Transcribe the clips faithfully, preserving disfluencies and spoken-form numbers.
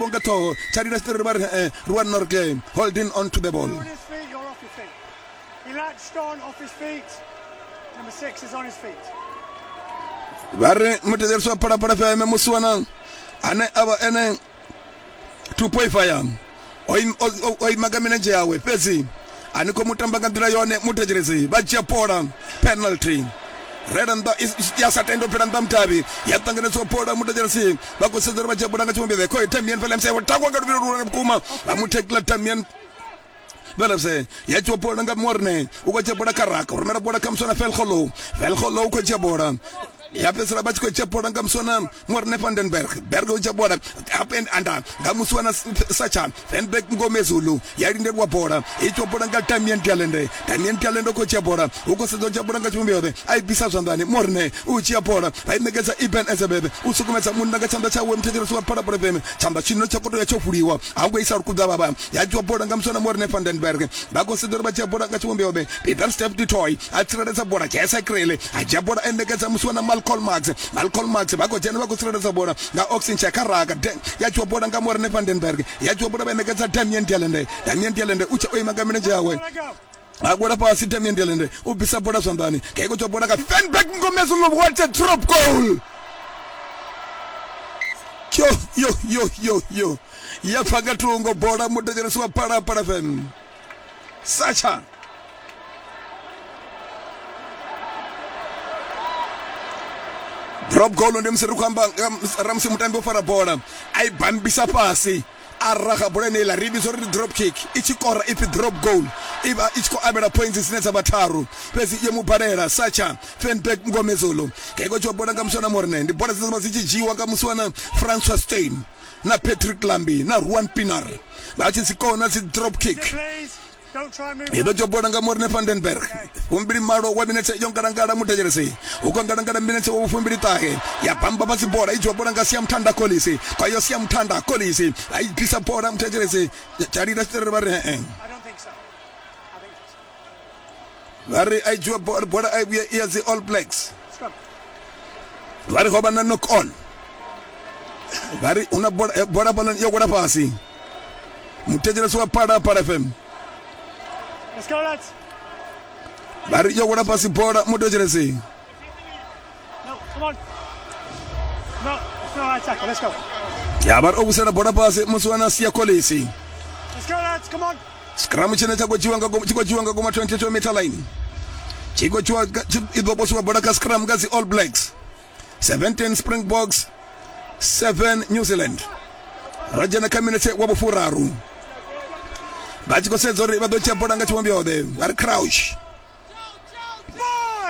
Nga ṱhoho tsha lila tshiṱiriri vha ri eh, Ruan Norgay holding on to the ball. On his feet, you're off your feet. He latched on off his feet. Number six is on his feet. Vha ri muthetshelesi wa Phalaphala F M, musiwana ane a vha ene two point five o im- o- o- o ima nga milenzhe yawe, fhedzi a ni khou mu tamba nga nḓila yone. Muthetshelesi, vha dzhia bola, penalty rela nnḓa, i- ya sa tenda u fhela nnḓa mutavhi, ya ṱanganedziwa bola. Muthetshelesi, vha khou sedza uri vha dzhia bola nga tshivhumbeo khoi Damian Willemse wo tangwa nga luvhilo luhulwane vhukuma, vha mu thekila Damian Willemse. Ya dzhiwa bola nga Morne, u khou dzhia bola kha raka, u rumela bola kha muswana Felgolo. Felgolo u khou dzhia bola, ya fhedzisela vha tshi khou dzhia bola nga muswana Morne van den Berg. Berg u dzhia bola up and under nga muswana Sacha Feinberg Mngomezulu, ya lindeliwa bola, i dzhiwa bola nga Damian Talende. Damian Talende u khou dzhia bola, u khou sedza u dzhia bola nga tshivhumbeo, a i bvisa zwanḓani. Morne u dzhia bola, vha i ṋekedza Eben Etzebeth, u sukumedza munna nga tshanḓa tshawe. Muthetshelesi wa Phalaphala F M, tshanḓa tshino tsha koto ya tsho fuliwa, a ngo isa lukuḓa vhavha. Ya dzhiwa bola nga muswana Morne van den Berg, vha khou sedza uri vha dzhia bola nga tshivhumbeo. Peter Steph du Toit a tsireledza bola, Jesse Krele a dzhia bola, a ṋekedza muswana Malcolm Marx. Malcolm Marx, vha khou dzhena, vha khou tsireledza bola nga Oxenche kha raka. Ya dzhiwa bola nga Morne van den Berg, ya dzhiwa bola, vha ṋekedza Damian Talende. Damian Talende u tsha o ima nga milenzhe yawe. Let go. A gwela fhasi Damian Talende, u bvisa bola zwanḓani, keiko tswa bola nga Feinberg Mngomezulu. What a drop goal! Yo yo yo yo yo, ya pfa nga thungo bola. Muthetshelesi wa Phalaphala F M, Sacha drop goal ndi musi ri khou amba nga ramusi mutambi o fara bola, a i bambisa fhasi, a raga bola ine iḽa ri vhidza uri ndi drop kick, i tshi kora ipfi drop goal, i vha i tshi khou avhela points dzine dza vha tharu, fhedzi yo mu balela Sacha Feinberg Mngomezulu. Keiko tshiwa bola nga muswana Morne, ndi bola dzine dza vha dzi tshi dzhiiwa nga muswana Francois Steyn na Patrick Lambi na Ruan Pienaar, vha tshi dzi kona dzi drop kick. Please, don't try and move. I ḓo dzhia bola nga Morne van den Berg, fumbili malo wa minetse yo ngalangala. Muthetshelesi, u khou ngalangala minetse wa fumbili ṱahe, ya bamba fhasi bola, i dzhiwa bola nga Siamthanda Kolisi. Kwayo Siamthanda Kolisi a i bvisa bola. Muthetshelesi, tshalila tshiṱerere vha ri ee. I don't think so. I think so. Vha ri a i dzhiwa bola, bola a i vhuye i ya dzi All Blacks. Scrum. Vha ri ho vha na knock on, vha ri huna bola, eh, bola fhaḽa yo wela fhasi. Muthetshelesi wa Phalaphala F M, Let's go, lads. vha ri yo wela fhasi bola. Muthetshelesi, No, come on. No, it's not our tackle. Let's go. Ya vha ri o vhusela bola fhasi musi wana Siya Kolisi. Let's go, lads. Come on. Scrum tshine tsha khou dzhiwa nga tshi khou dzhiwa nga goma twenty-two meter line, tshi khou dzhiwa nga- tshi- i ḓo posiwa bola kha scrum nga dzi All Blacks. seventeen Springboks, seven New Zealand. Ra dzhena kha minetse wa vhufuraru, vha tshi khou sedza uri vha ḓo dzhia bola nga tshivhumbeo vha ri crouch,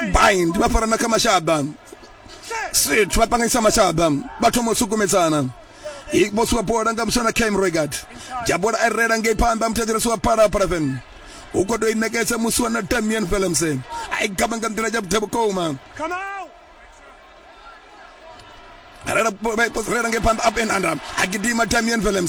Bind. bind, vha farana kha mashaḓa, Set. sit, vha ṱanganyisa mashaḓa, vha thoma u sukumedzana. I posiwa bola nga muswana Cam Roigard, dzhia bola a rela ngei phanḓa. Muthetshelesi wa Phalaphala F M, u khou tou i ṋekedza musiwana Damian Willemse, a i gaba nga nḓila ya vhuḓi vhukuma. Come out. Rela, rela ngei phanḓa, up and under, a gidima Damian Willemse.